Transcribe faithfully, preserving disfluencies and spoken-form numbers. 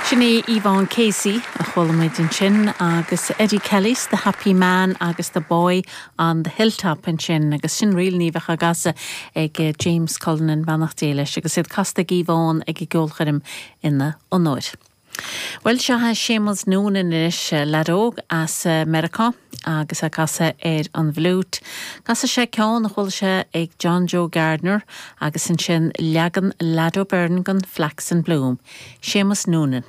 Sin é Yvonne Casey a chuala muid ansin agus Eddie Kelly's The Happy Man agus The Boy on the Hilltop ansin agus sin ríl níomh agasa ag eh, James Cullinan beannacht Dé leis agus iad casta ag Yvonne ag i gceolchoirm ina onóir. Well seo Séamus Noonan anois eh, leaid óg as eh, Meiriceá agus ag casadh ar an bhfliúit. Casfaidh sé ceann a chuala sé ag John Joe Gardner agus ansin leagan Lado Byrne den Flax and Bloom. Séamus Noonan.